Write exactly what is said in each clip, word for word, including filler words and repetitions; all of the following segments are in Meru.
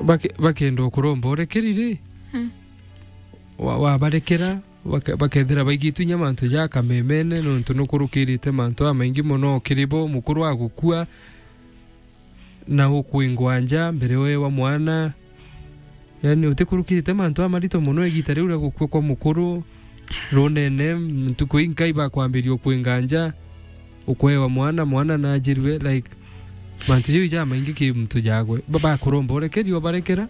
Bake-, bakenda ukuromba urekeri ri? Hmm. Wa-, wabarekera, bake-, bakethira baigitwe inya mantu ja kamemene, nontu nukurukirite mantu jamaingi mono kiri bo, mukuru agukua, na ukwingwa nja mbere wewa mwana. Yani, utikurukirite mantu jamarito mono igita riu ria gukua kwa mukuru, runene, ntuku inkai bakwambiria ukwinga nja, ukwewa mwana, mwana najirue, like, mantu jau jamaingi ki muntu jagwe. Ba-, bakuromba urekeri, ubarekera?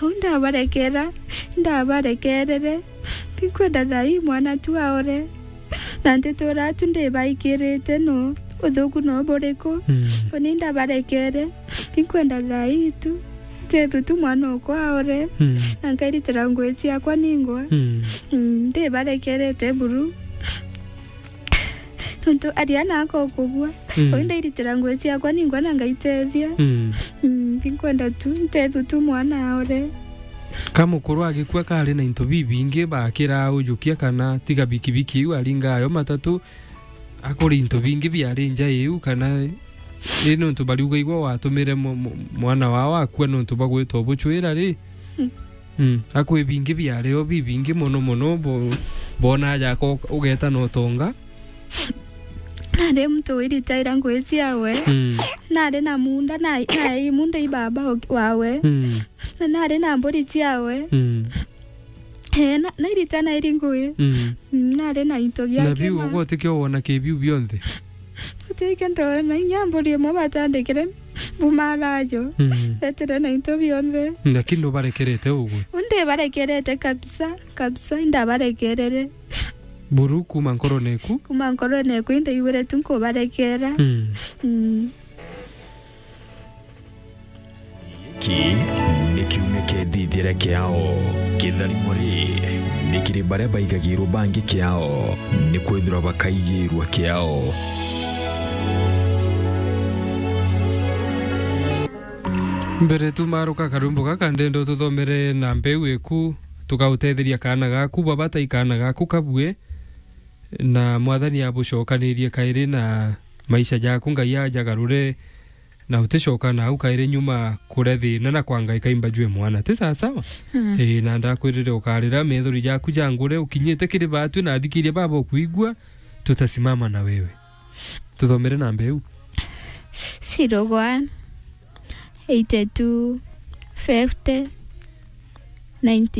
Au ndabarekera, ndabarekerere. Tinkwenda thaa ii mwana tu aore. Na ntituura tu ndibaikirite no, uthuku no buriku? Mm. Uni ndabarekere, tinkwenda thaa ii tu. Ntethu tu mwana okwa aore. Mm. Na nkairitira ngugi ciakwa ningwa. Mm. Mm, ndibarekerete buru. Nontu aria nako kugua. Mm. Uu ndairitira ngugi ciakwa ningwa na ngaitethia. Mm. Mm, tinkwenda tu, ntethu tu mwana aore. Ka mukuru agikua kari na into bibingi, bakira ujukia kana tiga bikibiki iu aringa ayo matatu, akuri into bingi biari nja iu kana, ii nontu bariuga igwe watumire mu-, mu-, mwana wao akua nontu bagwita ubuchwira ri? Mm. Mm. Akwi bingi biario bibingi mono mono, bo-, bona aja ko-, ugeta na utonga. Nari muntu wiritaira ngugi ciawe. Mm. Nari na munda, na, na i munda i baba o-, wawe. Mm. Na nari na mburi ciawe. Mm. Eh, na, nairita nairi ngugi. Mm. Mm, nari na into biake. Na biu ma- ugo utikio wona ki biu bionthe? Utikio ndona inya mburi imwe batandikire mbumarajo. Mm. Betire na into bionthe. Lakini nubarekerete ugwe? Ndibarekerete kabisa, kabisa, indabarekerere. Buru kuma nkorone eku? Kuma nkorone eku, indaigwire tu nkubarekera. Mm. Mm. Giki ni kiumia kia ithithia ria kiao. Kitharimo ri, ni kiri baria baigagirwo bangi kiao, ni kwithirwa bakaigirwa kiao. Mbere tumaruka karwimbo gaka, ndenda ututhomere na mbeu iku, tukautetheria kaana gaku, baba tai kaana gaku kabue, na Mwathani abucokanirie kairi na maisha jaku, Ngai ajagarure, na uticoka nau kairi nyuma kuria thina na kwanga ikaimba jwe mwana. Ti sawa sawa? Mm. Ii, na ndakwirire ukarira methori jaku jangure, ukinyite kiri batwi na athikiria baba ukwigua, tutasimama na wewe. Tuthomere namba iu. Zero one, eighty two, fifty, ninety.